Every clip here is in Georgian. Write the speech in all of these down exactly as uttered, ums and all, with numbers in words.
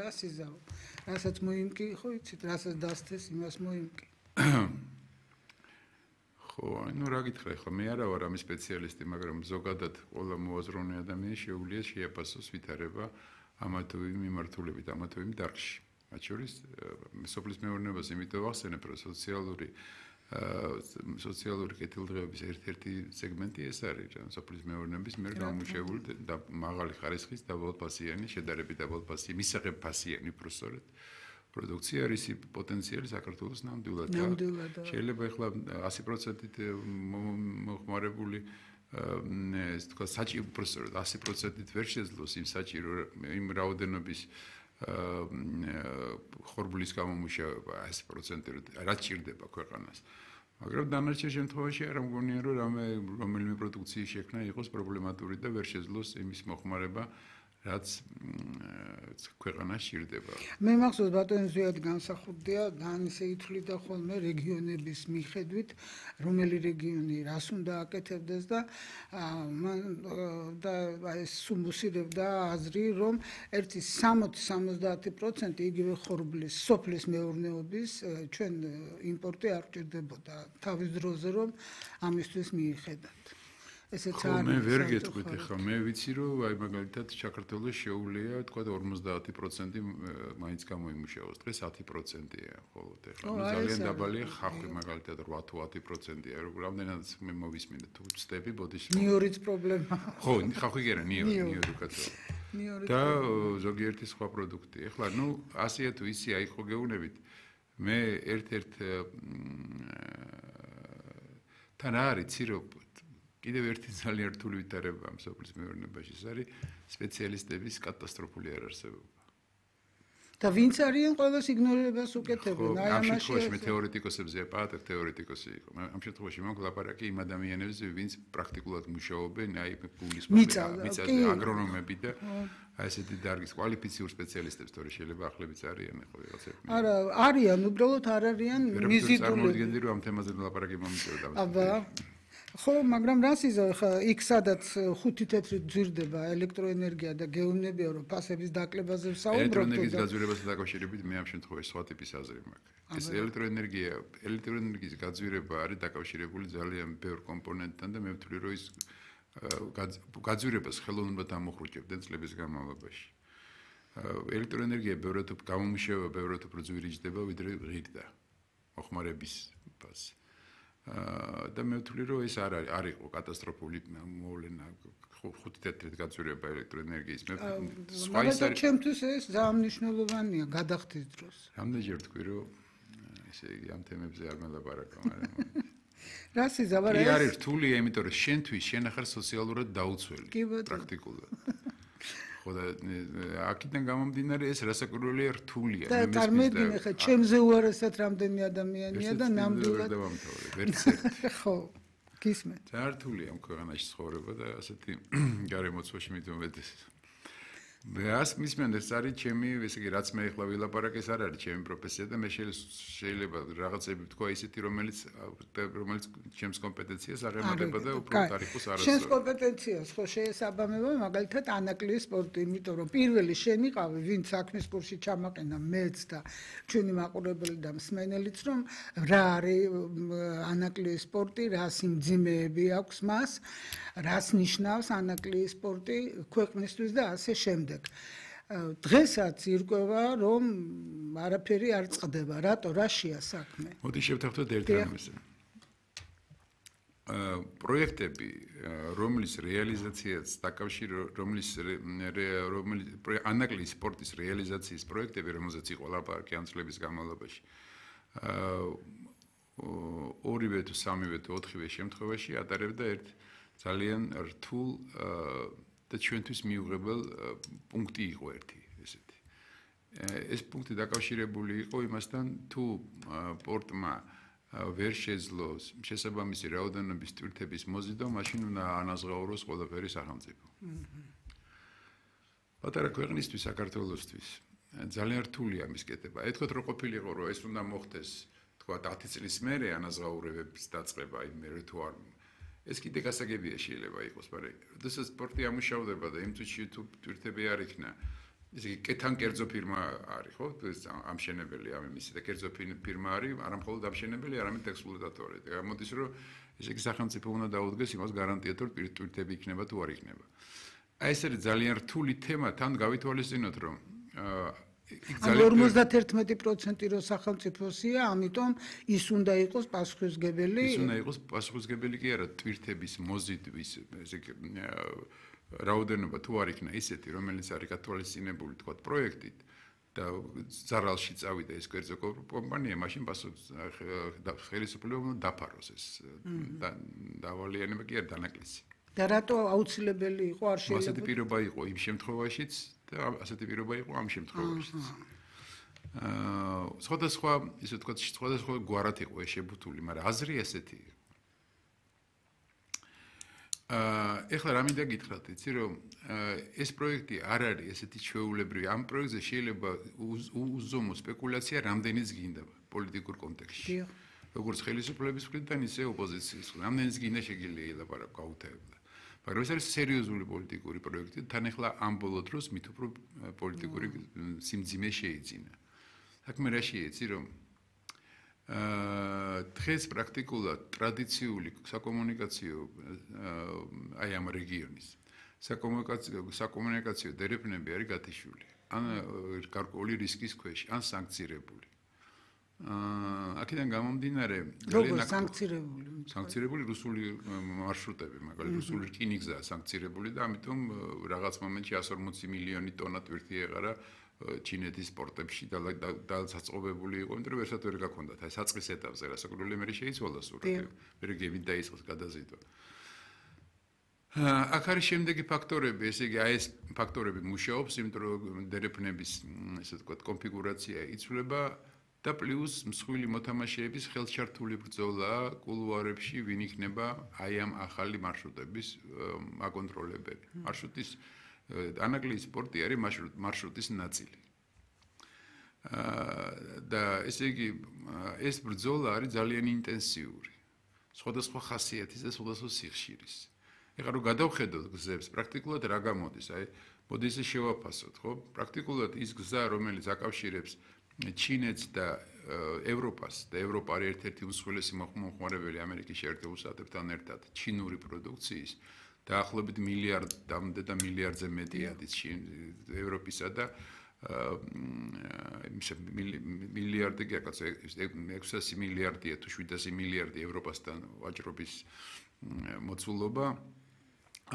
რას იზავ. რასაც მოიმკი, ხო იცით, რასაც დასთეს, იმას მოიმკი. ხო, ну რა გითხრა ხო, მე არა ვარ ამის სპეციალისტი, მაგრამ ზოგადად ყველა მოაზროვნე ადამიანი შეუძლია შეაფასოს ვითარება ამა თუ იმ მიმართულებით, ამა თუ იმ დარგში. მათ შორის სოფლის მეურნეობას იმიტომ ვახსენებ, რომ სოციალური სოციალური კეთილდღეობის ერთ-ერთი სეგმენტი ეს არის, რა სოფლის მეურნეობის მიერ გამომუშავებული და მაღალი ხარისხის დაბალფასიანი, შედარებით დაბალფასიანი, მისაღებფასიანი პროსორეთ პროდუქცია არის პოტენციალი საქართველოს ნამდვილად. შეიძლება ახლა ასი პროცენტით მოხმარებული ეს თქვა საჭირო პროსორეთ ასი პროცენტით ვერ შეძლოს იმ საჭირო იმ რაოდენობის ხორბლის გამომუშავება ასი პროცენტით რაც ჭირდება ქვეყანას. მაგრამ დანარჩენ შემთხვევაში არ მგონია რომ რამე რომელიმე პროდუქციის შექმნა იყოს პრობლემატური და ვერ შეძლოს იმის მოხმარება რაც ქვეყანას ჭირდება. მე მახსოვს ბატონი ზვიად განსახურდია ძალიან ისე ითვლიდა ხოლმე რეგიონების მიხედვით რომელი რეგიონი რას უნდა აკეთებდეს და და ეს სუმუსირებდა აზრი რომ ერთი სამოცი სამოცდაათი პროცენტი იგივე ხორბლის სოფლის მეურნეობის ჩვენ იმპორტი არ ჭირდებოდა თავის დროზე რომ ამისთვის მიიხედათ. ესეც არის. მე ვერ გეტყვით ახლა მე ვიცი რომ აი მაგალითად საქართველოს შეუძლია თქვა ორმოცდაათი პროცენტი მაინც გამოიმუშავოს დღეს ათი პროცენტია ხოლოდ ახლა ძალიან დაბალია ხალხი მაგალითად რვა თუ ათი პროცენტია რამდენადაც მე მოვისმინე თუ ვწდები ბოდიში ნიორის პრობლემა ხო ხალხი კი არა ნიორი ნიორი კაცო და ზოგიერთი სხვა პროდუქტი ახლა ნუ ასეა თუ ისე აი ხო გეუბნებით მე ერთ-ერთ თან არის ცირო კიდევ ერთი ძალიან რთული ვითარება ამ სოფლის მეურნეობაში ეს არის სპეციალისტების კატასტროფული არარსებობა. და ვინც არიან ყველას იგნორირებას უკეთებენ აი ამაში. ამ შემთხვევაში მე თეორეტიკოსებზე პატერ თეორეტიკოსი იყო. ამ შემთხვევაში მაგ ლაპარაკი იმ ადამიანებზე ვინც პრაქტიკულად მუშაობენ აი ფულის მიწაზე აგრონომები და აი ესეთი დარგის კვალიფიციურ სპეციალისტებს თორე შეიძლება ახლებიც არიან ხო ვიღაცები. არა არიან უბრალოდ არ არიან მიზიდული. წარმოვიდგენდი რომ ამ თემაზე ლაპარაკი მომიწევდა. აბა ხო, მაგრამ რას იზავ ხა იქ სადაც ხუთი თეთრი ძვირდება ელექტროენერგია და გეუბნებია რომ ფასების დაკლებაზე ვსაუბრობთ. ელექტროენერგიის გაძვირებასთან დაკავშირებით მე ამ შემთხვევაში სხვა ტიპის აზრი მაქვს. ეს ელექტროენერგია, ელექტროენერგიის გაძვირება არის დაკავშირებული ძალიან ბევრ კომპონენტთან და მე ვთვლი რომ ის გაძვირებას ხელოვნურად ამოხრუჭებდნენ წლების განმავლობაში. ელექტროენერგია ბევრად გამომუშავება ბევრად უფრო ძვირი ჯდება ვიდრე ღირდა მოხმარების ფასი. და მე ვთვლი რომ ეს არ არის არ იყო კატასტროფული მოვლენა ხუთი თეთრით გაძვირება ელექტროენერგიის მე სხვა ის არის ჩემთვის ეს ძალიან მნიშვნელოვანია გადახდის დროს რამდენჯერ თქვი რომ ესე იგი ამ თემებზე არ მელაპარაკო მაგრამ რას იზავარ ეს არის რთულია იმიტომ რომ შენთვის შენ ახარ სოციალურად დაუცველი პრაქტიკულად ხო და აქედან გამომდინარე ეს რასაკვირველია რთულია მე მესმის და წარმოიდგინე ხა ჩემზე უარესად რამდენი ადამიანია და ნამდვილად ვერც ერთი ხო გისმენთ ძალიან რთულია ამ ქვეყანაში ცხოვრება და ასეთი გარემოცვაში მithumetes მეას მისმენ ეს არის ჩემი ესე იგი რაც მე ახლა ვილაპარაკ ეს არ არის ჩემი პროფესია და მე შეიძლება რაღაცები ვთქვა ისეთი რომელიც რომელიც ჩემს კომპეტენციას აღემატება და უფრო ტარიფოს არ არის შენს კომპეტენციას ხო შეესაბამება მაგალითად ანაკლიის სპორტი იმიტომ რომ პირველი შენ იყავი ვინც საქმის კურსში ჩამაყენა მეც და ჩვენი მაყურებელი და მსმენელიც რომ რა არის ანაკლიის სპორტი რა სიმძიმეები აქვს მას რას ნიშნავს ანაკლიის სპორტი ქვეყნისთვის და ასე შემდეგ დღესაც ირკვევა რომ არაფერი არ წყდება რატო რაშია საქმე მოდი შევთანხმდეთ ერთ რამეს პროექტები რომლის რეალიზაციაც დაკავშირებული რომლის რომლის ანაკლიის სპორტის რეალიზაციის პროექტები რომელზეც იყო ლაპარაკი ამ წლების განმავლობაში ორივე თუ სამივე თუ ოთხივე შემთხვევაში ატარებდა ერთ ძალიან რთულ და ჩვენთვის მიუღებელ პუნქტი იყო ერთი ესეთი. ეს პუნქტი დაკავშირებული იყო იმასთან თუ პორტმა ვერ შეძლოს შესაბამისი რაოდენობის ტვირთების მოზიდვა, მაშინ უნდა ანაზღაუროს ყველაფერი სახელმწიფო. პატარა ქვეყნისთვის საქართველოსთვის ძალიან რთულია ამის კეთება. ეთქვათ რომ ყოფილიყო რომ ეს უნდა მოხდეს თქვა ათი წლის მერე ანაზღაურებების დაწყება იმ მერე თუ არ ეს კიდე გასაგებია შეიძლება იყოს, მაგრამ როდესაც სპორტი ამუშავდება და იმ წუთში თუ ტვირთები არ იქნა, ესე იგი კეთან კერძო ფირმა არის, ხო? ამშენებელი ამ იმისი და კერძო ფირმა არის, არა მხოლოდ ამშენებელი, არამედ ექსპლუატატორი. გამოდის რომ ესე იგი სახელმწიფო უნდა დაუდგეს იმას გარანტიად, რომ ტვირთები იქნება თუ არ იქნება. აი ეს არის ძალიან რთული თემა, თან გავითვალისწინოთ, რომ ანუ ორმოცდაერთმეტი პროცენტი რო სახელმწიფოსია, ამიტომ ის უნდა იყოს პასუხისმგებელი. ის უნდა იყოს პასუხისმგებელი კი არა, ტვირთების მოზიდვის, ესე იგი რაოდენობა თუ არ იქნა ისეთი, რომელიც არის გათვალისწინებული, თქვა პროექტით და ზარალში წავიდა ეს კერძო კომპანია, მაშინ ხელისუფლება დაფაროს ეს დავალიანება კი არ დანაკლისი. და რატო აუცილებელი იყო არ შეიძლება? ასეთი პირობა იყო იმ შემთხვევაშიც და ასეთი პირობა იყო ამ შემთხვევაშიც. აა სხვადასხვა, ისე ვთქვათ, სხვადასხვა გვარად იყო ეს შებუთული, მაგრამ აზრი ესეთი იყო. აა ეხლა რა მინდა გითხრათ, იცი რომ ეს პროექტი არ არის ესეთი ჩვეულებრივი. ამ პროექტზე შეიძლება უზომო სპეკულაცია რამდენიც გინდა პოლიტიკურ კონტექსტში. როგორც ხელისუფლების მხრიდან, ისე ოპოზიციის. რამდენიც გინდა შეგიძლია ელაპარაკო გაუთავებლად. მაგრამ ეს არის სერიოზული პოლიტიკური პროექტი, თან ახლა ამ ბოლო დროს მით უფრო პოლიტიკური სიმძიმე შეიძინა. საქმე რა შეიცი რომ აა დღეს პრაქტიკულად ტრადიციული საკომუნიკაციო აი ამ რეგიონის საკომუნიკაციო საკომუნიკაციო დერეფნები არის გათიშული. ან გარკვეული რისკის ქვეშ, ან სანქცირებული. აა აქედან გამომდინარე როგორ სანქცირებული? სანქცირებული რუსული მარშრუტები, მაგალითად რუსული რკინიგზაა სანქცირებული და ამიტომ რაღაც მომენტში εκατს ორმოცი მილიონი ტონა ტვირთი ეყარა ჩინეთის პორტებში და დაწყობებული იყო, იმიტომ რომ ერთად ვერ გაქონდათ. აი საწყის ეტაპზე რასაკვირველია მე შეიცვალა სურათი. მე გევით დაიწყოს გადაზიდვა. აქ არის შემდეგი ფაქტორები, ესე იგი აი ეს ფაქტორები მუშაობს, იმიტომ რომ დერეფნების ესე ვთქვათ კონფიგურაცია იცვლება და პლუს მსხვილი მოთამაშეების ხელშართული ბრძოლა კულუარებში ვინ იქნება აი ამ ახალი მარშრუტების აკონტროლებელი. მარშრუტის ანაგლის პორტი არის მარშრუტის ნაწილი. და ესე იგი ეს ბრძოლა არის ძალიან ინტენსიური. სხვადასხვა ხასიათის და სხვადასხვა სიხშირის. ეხლა რომ გადავხედოთ გზებს, პრაქტიკულად რა გამოდის? აი, მოდი ისე შევაფასოთ, ხო? პრაქტიკულად ის გზა, რომელიც აკავშირებს ჩინეთს და ევროპას და ევროპა არის ერთ-ერთი უმსხვილესი მომხმარებელი ამერიკის შეერთებულ შტატებთან ერთად ჩინური პროდუქციის დაახლოებით მილიარდამდე და მილიარდზე მეტი არის ევროპისა და მილიარდი კი აკაც ექვსასი მილიარდია თუ შვიდასი მილიარდი ევროპასთან ვაჭრობის მოცულობა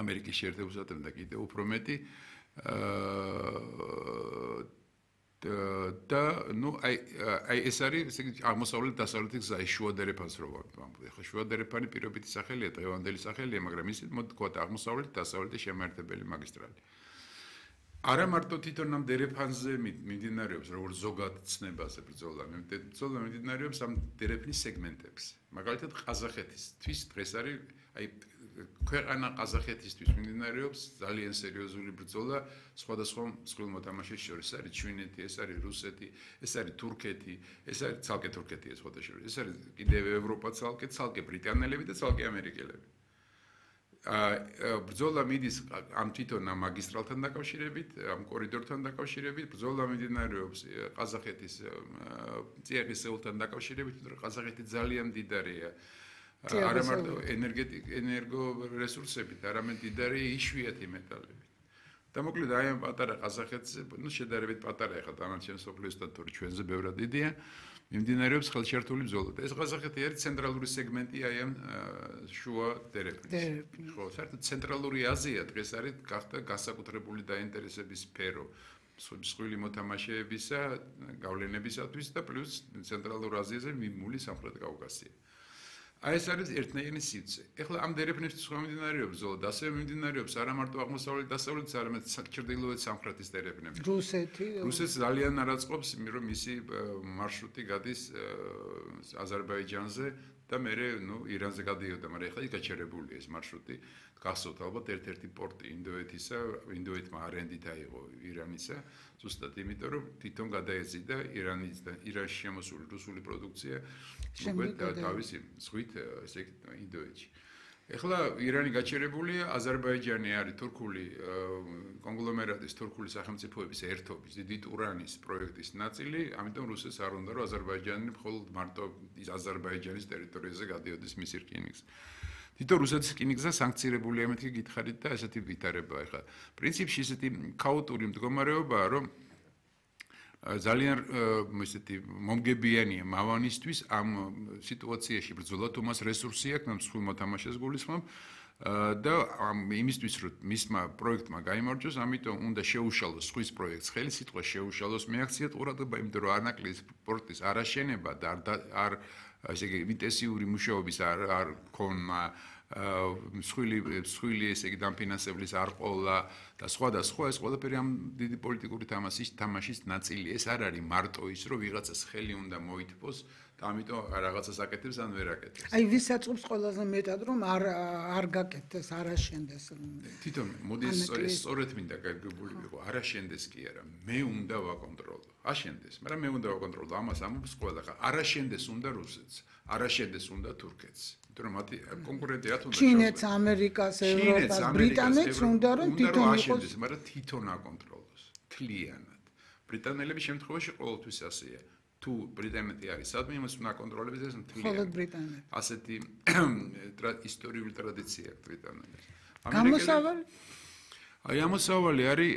ამერიკის შეერთებულ შტატებთან და კიდევ უფრო მეტი და ნუ აი აი ეს არის ესე იგი აღმოსავლეთ დასავლეთი გზა შუა დერეფანს რო ვამბობ. ეხლა შუა დერეფანი პირობითი სახელია, დღევანდელი სახელია, მაგრამ ისე მოდი თქვა აღმოსავლეთ დასავლეთი შემაერთებელი მაგისტრალი. არა მარტო თვითონ ამ დერეფანზე მიმდინარეობს როგორც ზოგად ცნებაზე ბრძოლა, ბრძოლა მიმდინარეობს ამ დერეფნის სეგმენტებზე. მაგალითად ყაზახეთისთვის დღეს არის აი ქვეყანა ყაზახეთისთვის მიმდინარეობს ძალიან სერიოზული ბრძოლა სხვადასხვა მსხვილ მოთამაშეს შორის. ეს არის ჩინეთი, ეს არის რუსეთი, ეს არის თურქეთი, ეს არის ცალკე თურქეთია სხვათა შორის. ეს არის კიდევ ევროპა ცალკე, ცალკე ბრიტანელები და ცალკე ამერიკელები. აა ბრძოლა მიდის ამ თვითონ ამ მაგისტრალთან დაკავშირებით, ამ კორიდორთან დაკავშირებით, ბრძოლა მიმდინარეობს ყაზახეთის წიაღისეულთან დაკავშირებით, იმიტომ რომ ყაზახეთი ძალიან მდიდარია არა მარტო ენერგეტიკ ენერგო რესურსებით, არამედ მდიდარია იშვიათი მეტალებით. და მოკლედ აი ამ პატარა ყაზახეთზე, ნუ შედარებით პატარა ახლა დანარჩენ სოფლიოსთან თორე ჩვენზე ბევრად დიდია, მიმდინარეობს ხელშეერთული ბრძოლა. და ეს ყაზახეთი არის ცენტრალური სეგმენტი აი ამ შუა დერეფნის. ხო, საერთოდ ცენტრალური აზია დღეს არის გახდა განსაკუთრებული დაინტერესების სფერო მსხვილი მოთამაშეებისა, გავლენებისათვის და პლუს ცენტრალურ აზიაზე მიმული სამხრეთ კავკასია. აი ეს არის ერთნაირი სივრცე. ეხლა ამ დერეფნებისთვის ხომ მიმდინარეობს ბრძოლა, და ასევე მიმდინარეობს არა მარტო აღმოსავლეთ დასავლეთის, არამედ ჩრდილოეთ სამხრეთის დერეფნები. რუსეთი. რუსეთს ძალიან არ აწყობს, რომ მისი მარშრუტი გადის აზერბაიჯანზე და მერე ნუ ირანზე გადიოდა, მაგრამ ეხლა ის გაჩერებულია ეს მარშრუტი. გახსოვთ ალბათ ერთ-ერთი პორტი ინდოეთისა, ინდოეთმა არენდით აიღო ირანისა, ზუსტად იმიტომ რომ თვითონ გადაეძიდა ირანის და ირანში შემოსული რუსული პროდუქცია უკვე თავისი ზღვით ესე იგი ინდოეთში. ეხლა ირანი გაჩერებულია, აზერბაიჯანი არის თურქული კონგლომერატის, თურქული სახელმწიფოების ერთობის, დიდი ტურანის პროექტის ნაწილი, ამიტომ რუსეთს არ უნდა რომ აზერბაიჯანი მხოლოდ მარტო აზერბაიჯანის ტერიტორიაზე გადიოდეს მის რკინიგზა. თვითონ რუსეთის რკინიგზა სანქცირებულია, მეთქი გითხარით და ესეთი ვითარება ეხლა. პრინციპში ესეთი ქაოტური მდგომარეობაა, რომ ძალიან ესეთი მომგებიანია მავანისთვის ამ სიტუაციაში ბრძოლა თუმას რესურსი აქვს, ამ სხვა მოთამაშეს გულისხმობ და იმისთვის რომ მისმა პროექტმა გაიმარჯვოს, ამიტომ უნდა შეუშალოს სხვის პროექტს, ხელი სიტყვა შეუშალოს მეაქციათ ყურადღება, იმიტომ რომ არნაკლის პორტის არაშენება და არ ესე იგი ინტენსიური მუშაობის არ არ ქონა მსხვილი მსხვილი ესე იგი დამფინანსებლის არ ყოლა და სხვა და სხვა ეს ყველაფერი ამ დიდი პოლიტიკური თამაშის თამაშის ნაწილია. ეს არ არის მარტო ის რომ ვიღაცას ხელი უნდა მოითბოს და ამიტომ რაღაცას აკეთებს ან ვერ აკეთებს. აი ვის აწყობს ყველაზე მეტად რომ არ არ გაკეთდეს, არ აშენდეს. თვითონ მოდი ეს სწორედ მინდა გაგებული ვიყო, არ აშენდეს კი არა, მე უნდა ვაკონტროლო. აშენდეს, მაგრამ მე უნდა ვაკონტროლო. ამას ამობს ყველა ხა. არ აშენდეს უნდა რუსეთს, არ აშენდეს უნდა თურქეთს. იმიტომ რომ მათი კონკურენტია თუნდაც ჩინეთს, ამერიკას, ევროპას, ბრიტანეთს უნდა რომ თვითონ აშენდეს, მაგრამ თვითონ აკონტროლოს. თლიანად. ბრიტანელების შემთხვევაში ყოველთვის ასეა. თუ ბრიტანეთი არის სადმე იმას უნდა აკონტროლებს ეს მთლიანად. მხოლოდ ბრიტანეთი. ასეთი ისტორიული ტრადიცია აქვს ბრიტანელებს. გამოსავალი აი ამოსავალი არის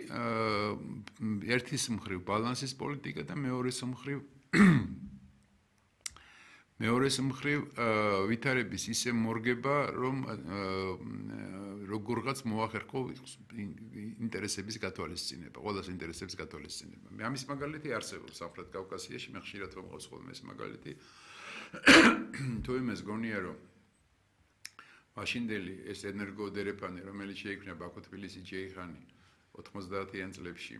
ერთის მხრივ ბალანსის პოლიტიკა და მეორეს მხრივ მეორეს მხრივ ვითარების ისე მორგება, რომ როგორღაც მოახერხო ინტერესების გათვალისწინება, ყველას ინტერესების გათვალისწინება. მე ამის მაგალითი არსებობს სამხრეთ კავკასიაში, მე ხშირად ვამყავს ხოლმე ეს მაგალითი. თუ იმას გონია, რომ მაშინდელი ეს ენერგოდერეფანი, რომელიც შეიქმნა ბაქო-თბილისი-ჯეიხანი ოთხმოცდაათიან წლებში,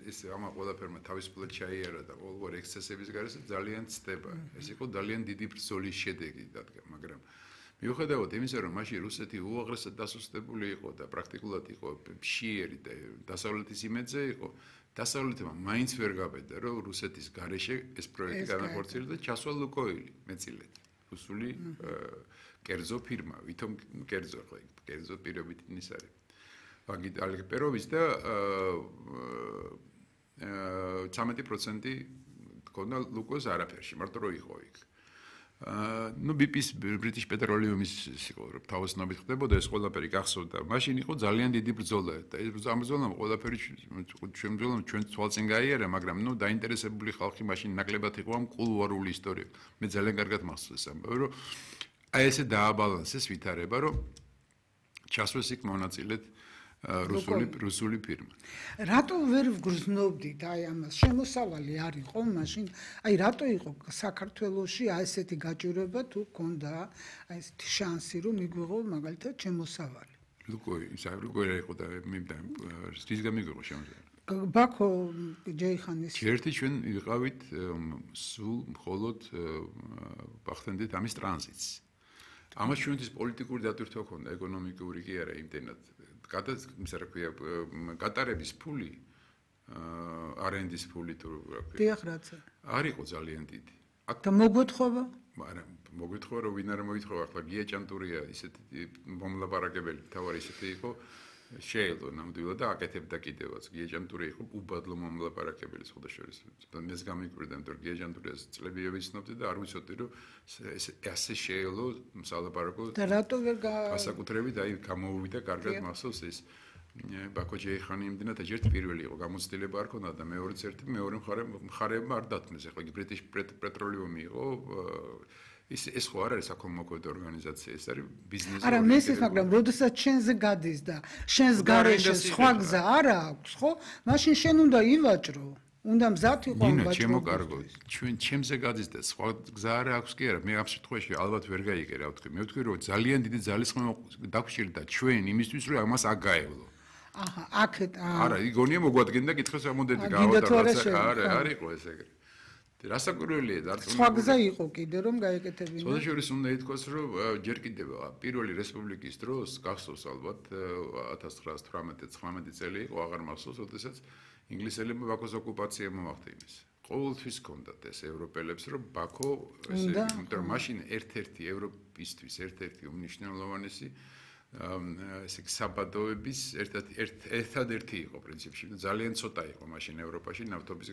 ეს ამა ყველაფერმა თავისუფლად ჩაიარა და ყოველგვარი ექსცესების გარშე ძალიან ცდება. ეს იყო ძალიან დიდი ბრძოლის შედეგი დადგა, მაგრამ მიუხედავად იმისა, რომ მაშინ რუსეთი უაღრესად დასუსტებული იყო და პრაქტიკულად იყო მშიერი და დასავლეთის იმედზე იყო, დასავლეთმა მაინც ვერ გაბედა, რომ რუსეთის გარეშე ეს პროექტი განახორციელდა და ჩასვა ლუკოილი მეწილეთ. რუსული კერძო ფირმა, ვითომ კერძო ხო, კერძო პირობით ის არის. ვაგიტ ალგიპეროვის და ცამეტი პროცენტი ქონდა ლუკოს არაფერში, მარტო რო იყო იქ. ну ბი პი-ის British Petroleum-ის იყო თავოსნობით ხდებოდა ეს ყველაფერი გახსოვდა. მაშინ იყო ძალიან დიდი ბრძოლა და ეს ამ ბრძოლამ ყველაფერი ჩვენ ბრძოლამ ჩვენ თვალწინ გაიარა, მაგრამ ну დაინტერესებული ხალხი მაშინ ნაკლებად იყო ამ კულუარული ისტორია. მე ძალიან კარგად მახსოვს ამბავი, რომ აი ესე დააბალანსეს ვითარება, რომ ჩასვეს იქ მონაწილედ რუსული რუსული ფირმა. რატო ვერ ვგრძნობდით აი ამას? შემოსავალი არ იყო მაშინ. აი რატო იყო საქართველოში აი ესეთი გაჭირვება თუ ქონდა აი ესეთი შანსი რომ მიგვიღო მაგალითად შემოსავალი? ლუკოი, ისე ლუკოი იყო და მე ის გამიგიღო შემოსავალი. ბაქო ჯეიხანის ერთი ჩვენ ვიყავით სულ მხოლოდ ვახდენდით ამის ტრანზიტს. ამას ჩვენთვის პოლიტიკური დატვირთვა ჰქონდა, ეკონომიკური კი არა იმდენად. გადაც იმის რა ქვია გატარების ფული არენდის ფული თუ რა ქვია. დიახ რაცა. არ იყო ძალიან დიდი. და მოგვეთხოვა? არა, მოგვეთხოვა რომ ვინ არ მოითხოვა, ახლა გია ჭანტურია ისეთი მომლაპარაკებელი, თავარი ისეთი იყო. შეელო ნამდვილად და აკეთებდა კიდევაც. გია ჭანტური იყო უბადლო მომლაპარაკებელი სხვადასხვა. მეს გამიკვირდა, იმიტომ რომ გია ჭანტურიას წლებია ვიცნობდი და არ ვიცოდი რომ ესე შეელო სალაპარაკო. და რატო ვერ გასაკუთრებით აი გამოუვიდა კარგად მახსოვს ეს ბაქო ჯეიხანი იმდენად ერთ პირველი იყო გამოცდილება არ ქონდა და მეორეც ერთი მეორე მხარე მხარეებმა არ დათმეს. ახლა იგი British Petroleum იყო ის ეს ხო არ არის საკომმოქმედო ორგანიზაცია, ეს არის ბიზნესი. არა, მესის, მაგრამ როდესაც შენზე გადის და შენს გარეშე სხვა გზა არ აქვს, ხო? მაშინ შენ უნდა ივაჭრო. უნდა მზად იყო ვაჭრო. ნინო, შემოკარგო. ჩვენ ჩემზე გადის და სხვა გზა არ აქვს კი არა. მე ამ შემთხვევაში ალბათ ვერ გაიგე რა ვთქვი. მე ვთქვი რომ ძალიან დიდი ძალისხმევა დაგჭირდა ჩვენ იმისთვის რომ ამას აგაევლო. აჰა, აქეთ არა, იგონია მოგვადგენდა კითხოს ამოდენდი გავატარდა. არა, არ იყო ეს ეგრე. რასაკვირველია დარწმუნებული. სხვა გზა იყო კიდე რომ გაეკეთებინა. შესაძლოა უნდა ითქვას რომ ჯერ კიდევ პირველი რესპუბლიკის დროს გახსოვს ალბათ ათას ცხრაას თვრამეტი წელი იყო, აღარ მახსოვს, როდესაც ინგლისელებმა ბაქოს ოკუპაცია მოახდინეს. ყოველთვის ჰქონდათ ეს ევროპელებს რომ ბაქო ესე, იმიტომ რომ მაშინ ერთ-ერთი ტიპისთვის ერთ-ერთი უმნიშვნელოვანესი ესე იგი საბადოების ერთად ერთადერთი იყო პრინციპში ძალიან ცოტა იყო მაშინ ევროპაში ნავთობის